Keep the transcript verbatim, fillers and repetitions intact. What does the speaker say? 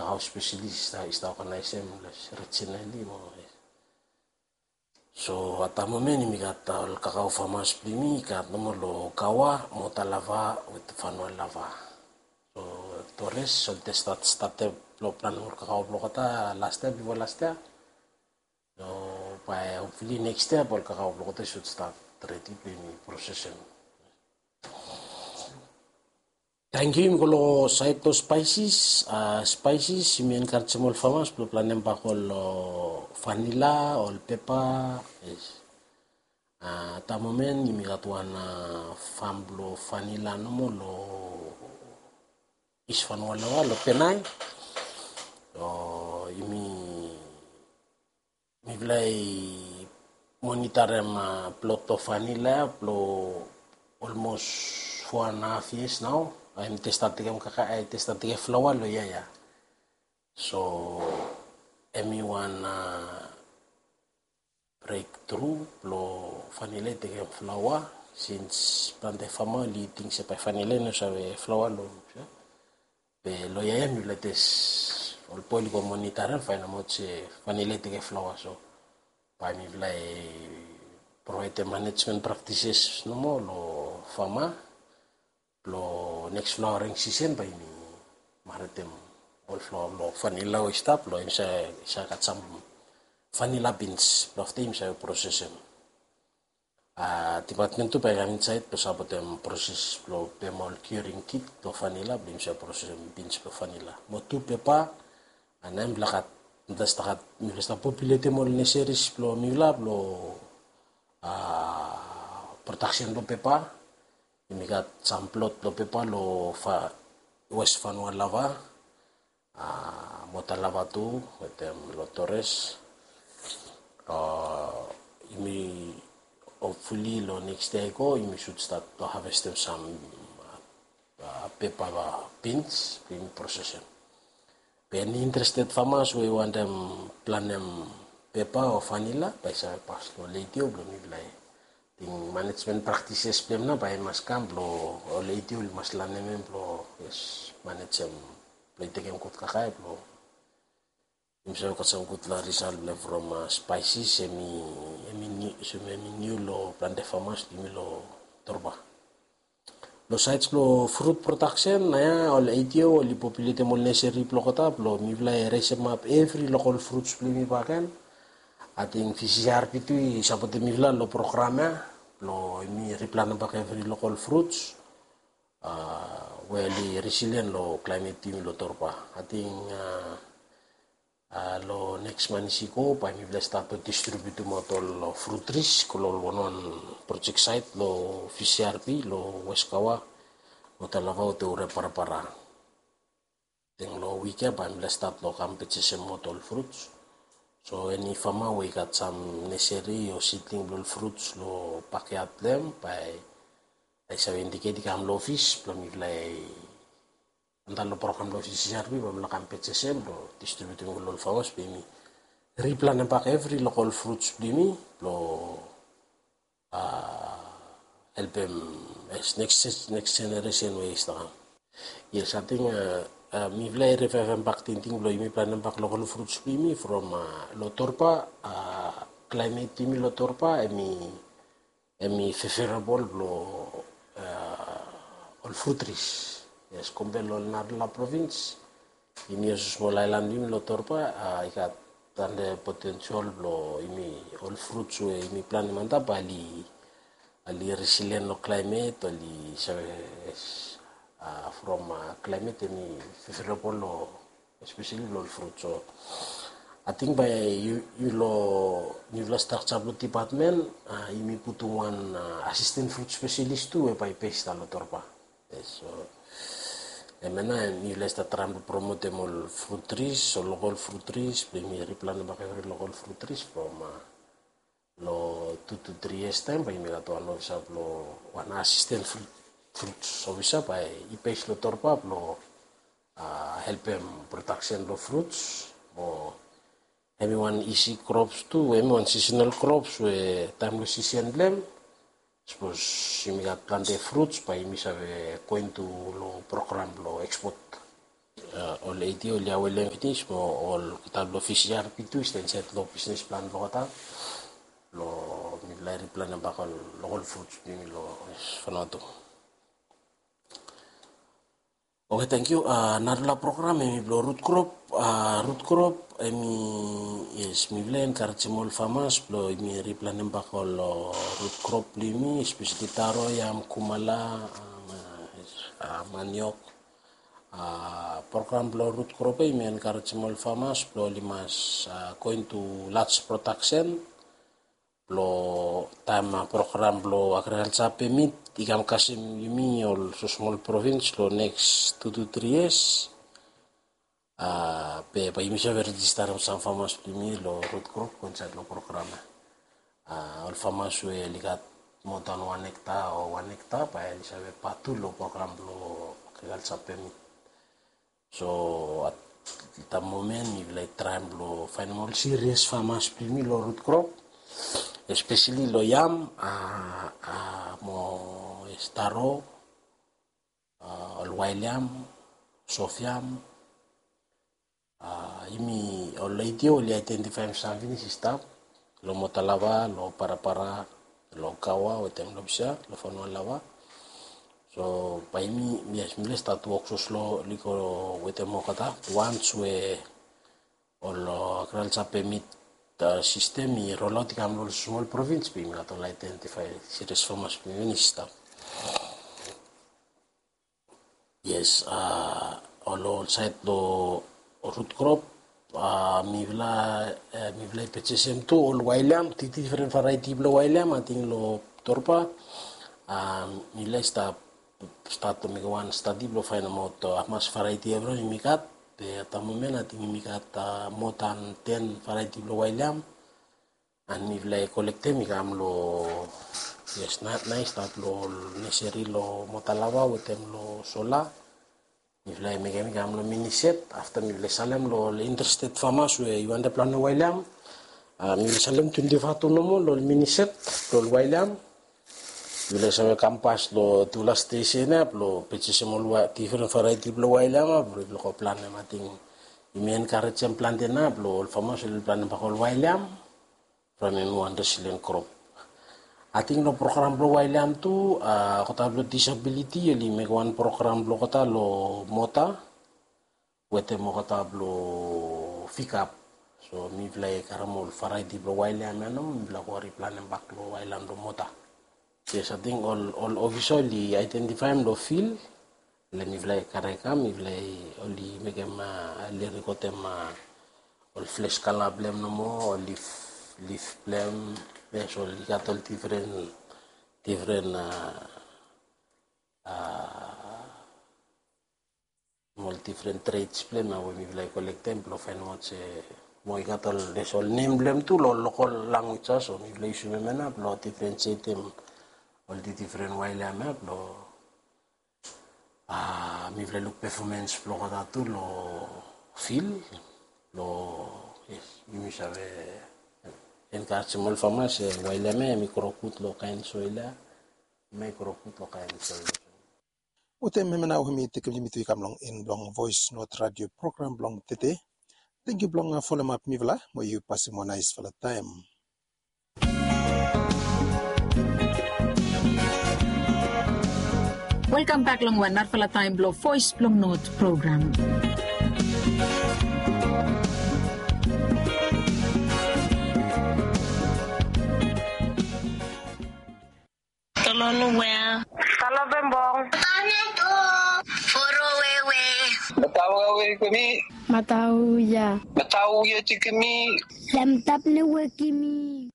kakao spesialis i stap oganaesem regionally mo. So at the moment yumi gat ol kakao famas blong yumi i gat nomo long Kawa, Mota Lava with Fanua Lava. So Torres oli stat statem blong planem ol kakao blong olgeta last year, bifo last year. So bae hopefully next year bae ol kakao blong olgeta i should stat redi blong yumi prosesem. Tangkiu. Yumi go long saed blong spices. Spices yumi enkarejem ol famas blong planem bak ol vanila, ol pepa. Yes. At the moment yumi gat wan fam blong vanila nomo long East Fanua Lava long Penang. So yumi mifala i monitarem plot blong vanila blong olmos four and half years nao. Hemi stat tekem kakae, hemi stat tekem flaoa long ia ia. So hemi wan breakthrough blong vanila i tekem flaoa, since plante fama oli ting se bae vanila i no save flaoa long ia. Be long ia ia mifala tes, ol boi oli go monitarem faenemaot se vanila i tekem flaoa. So bae mifala i provaedem management practices nomo long fama blong next flowering season bae yumi maretem ol flaoa blong vanila we i stap blong yumi save gat sam vanila beans blong afta yumi save prosesem. Department tu bae i kam insaed blong sapotem proses blong pema ol curing kit blong vanila blong yumi save prosesem beans blong vanila mo tu pepa. Nao mifala gat, mifala stap gat, mifala stap populetem ol nurseries blong mifala blong production blong pepa. Yumi gat sam plot blong pepa long West Fanua Lava, Mota Lava tu wetem long Torres. Yumi hopefully long next year i go yumi should stat blong harvestem sam pepa beans blong yumi prosesem. Be eni interested farmers we i wantem planem pepa o vanila bae i save pas long ol ATO blong mifala. Ting management practices blong hem nao bae i mas kam blong ol ATO oli mas lanem hem blong yes manejem blong i tekem gud kakae blong yumi save gat sam gudfala result blong hem from spices hemi niu long plante farmers blong yumi long Torba. Long saed blong fruit production nao ia ol ATO oli populetem ol nursery blong olgeta blong mifala i resemap evri local fruits blong yumi bakegen. Ating VCCRP tu i sapotem mifala long program ia blong yumi riplanem bak evri local fruits we oli resilient long climate blong yumi long Torba. Ating long next month i go bae mifala i stat blong distributem aot ol fruit trees go long ol wanwan project site long VCCRP long West Kawa, Mota Lava wetem Ure Parapara. Ating long wik ia bae mifala i stat long kam purchasem aot ol fruits. So eni farmer we i gat sam nursery o seedling blong ol fruits long backyard blong hem bae i save indicate i kam long office blong mifala i antap long program blong VCCRP bae mifala kam purchasem blong distributem go long ol farmers blong yumi riplanem bak evri local fruits blong yumi blong helpem next generation we i stap kam. Yes, ating mifala i revivem bak tingting blong yumi planem bak local fruits blong yumi from long Torba. Climate blong yumi long Torba hemi hemi favorable blong ol fruit trees. Yes, compare long ol narafala province, yumi olsem small island blong yumi long Torba i gat plante potential blong yumi ol fruits we yumi planem antap bae oli resilient long climate, oli save from climate hemi favorable long especially long ol fruit. So ating bae yu long mifala structure blong department yumi putum wan assistant fruit specialist tu we bae i base long Torba. So hemia nao mifala i stap traem blong promotem ol fruit trees, ol local fruit trees blong yumi riplanem bak evri local fruit trees from long two to three years taem bae yumi gat wan ofisa blong wan assistant fruits ofisa bae i base long Torba blong helpem production blong fruits. Mo hemi wan easy crops tu, hemi wan seasonal crops we taem long season blong hem sapos yumi gat plante fruits bae yumi save go into long program blong export. ol ADA oli aware long hem finis mo olgeta blong VCRP tu i stap insaed long bisnes plan blong olgeta blong mifala i riplanem bak ol lokol fruits blong yumi long Vanuatu. Oke, tangkiu. Narafala program hemi blong root crop. Root crop hemi, yes, mifala i enkarejem ol famas blong yumi riplanem bak ol root crop blong yumi, espeseli taro, yam, kumala, maniok. Program blong root crop ya hemi enkarejem ol famas blong oli mas go into large production. Blong taem program blong agriculture permit i kam kasem yumi ol smosmol provins long next two to three years, be bae yumi save rejistarim sam famas blong yumi long root crop go insaed long program ya. Ol famas we oli gat moa dan wan hekta o wan hekta bae oli save pat tu long program blong agriculture permit. So at the moment mifala i traem blong faenem ol serious famas blong yumi long root crop, espeseli long yam, mo taro, ol wael yam, sof yam. Yumi ol ADA oli aedentifaem sam finis i stap long Motalava, long Parapara, long Kawa wetem Lobsia, long Vanualava. So bae yumi, yes, mifala i stat wok so sloli go wetem olgeta. Once we ol agriculture permit system i roll out i kam long ol smosmol provins be yumi gat ol identify serious famas blong yumi finis i stap. Yes, ol, ol saed long root crop, mifala, mifala i purchasem tu ol wael yam, difren variety blong wael yam, ating long Torba. Mifala i stap, stat long mekem wan stadi blong faenemaot hamaos variety evriwan yumi gat. Be at the moment ating yumi gat moa dan ten variety blong wael yam. And mifala i kolektem i kam long, yes, nao i stap long ol neseri long Motalava wetem long Sola. Mifala i mekem i kam long mini shed, afta mifala i salem long ol interested famas we i wantem planem wael yam. Mifala i salem twenti faev tu nomo long ol mini shed blong ol wael yam. Mifala i save kam pas long tufala stesen ya blong purchasem ol difren variety blong wael yam ya blong yufala go planem. Ating yumi enkarejem plante nao blong ol famas oli planem bak ol wael yam from hemi wan resilient crop. Ating long program blong wael yam tu, olgeta blong disability oli mekem wan program blong olgeta long Mota wetem olgeta blong Fik Up. So mifala i karem ol variety blong wael yam ya nao mifala go riplanem bak long wael yam blong Mota. Yes, ating ol, ol ofisa oli identifaem long fil, le mifala i karem i kam, mifala i oli mekem, oli rikotem ol fles kala blong hem nomo, ol lif, lif blong hem, yes, oli gat ol difren, difren ol difren trades blong hem ya we mifala i kolektem blong faenemaot se mo i gat ol, yes, ol nem blong hem tu long ol lokol lanwis ya, so mifala i yusum hem ya nao blong difrensietem ol difren wael yam ya blong mifala i luk pefomens blong olgeta tu long fil blong, yes, yumi save enkarejem ol famas se wael yam ya hemi gro gud long kaen soel ya, hemi gro gud long kaen soel ya. Wetem hemia nao hemi tekem yumi tu i kam long en blong Voice North Radio program blong tede. Tangkiu blong folem ap mifala, mo yu pasem wan naesfala taem. Welkam bak long wan narafala taem blong Voice blong North program. Tolonu wea. Talo bembong. Foro wewe. Matau wewe kemi. Matau ya. Matau ya tikemi. Lam tap ne wekimi.